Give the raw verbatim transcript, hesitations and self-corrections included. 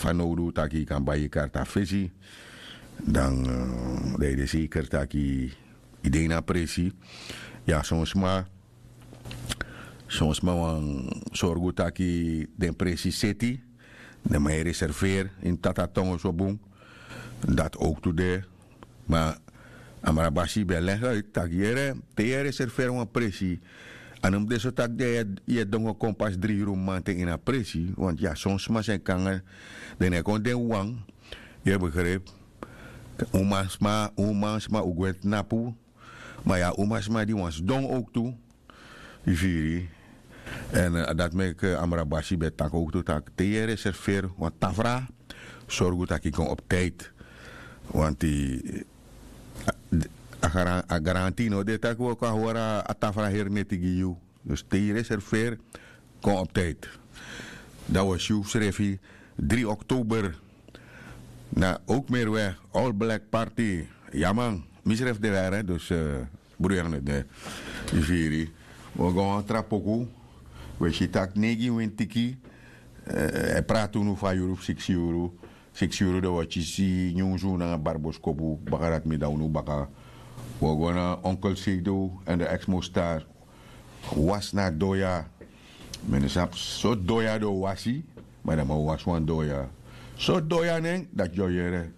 fanowdu taki yu kan bai yu karta fesi, dan dan yu de seker taki yu de ini a presi. Ya son sma, son sma wani sorgu taki den presi seti, den man e reserveri ini tata tongo so bun. Dati owktu de. Ma amra basi ben e legi uit tak' yere, te yu e reserveri wan presi, a no mus de so tak' den yu e dongo kon pasi dri yuru mamanten ini a presi. Wantu ya son sma san e kon nanga den no e kon den wawan. Yu e begripi? Umansma umansma un gwe tnapu. Ma yu a umansma di wani sidon owktu. Yu firi? Èn dati meki amra basi ben e taki owktu tak' te yu e reserveri wan tafra, sorgu tak' yu kon op tijdi. Wanti a garanti no de tak' wi o kon a hori a tafra heri neti gi yu. Dus te yu reserveri, kon op tijdi. Dan wi o si wi srefi dri oktober. Na owk meri we, all black party. Ya man, mi srefi de weri dus. Bruyerne de. Yu firi? Wi o go na wan tra poku. Wi e si tak' neigi wintiki e prati unu fu a yuru fu siksi yuru. Siksi yuru den wi o kisi nyunsu nanga barboskopu baka dati mi dan unu baka. Wi o go na onkel seido èn de eksmo star. Wasi na a doya. Mi no sabi so doya den o wasi. Ma den man o wasi wan doya. So doya nen dati yu o yere.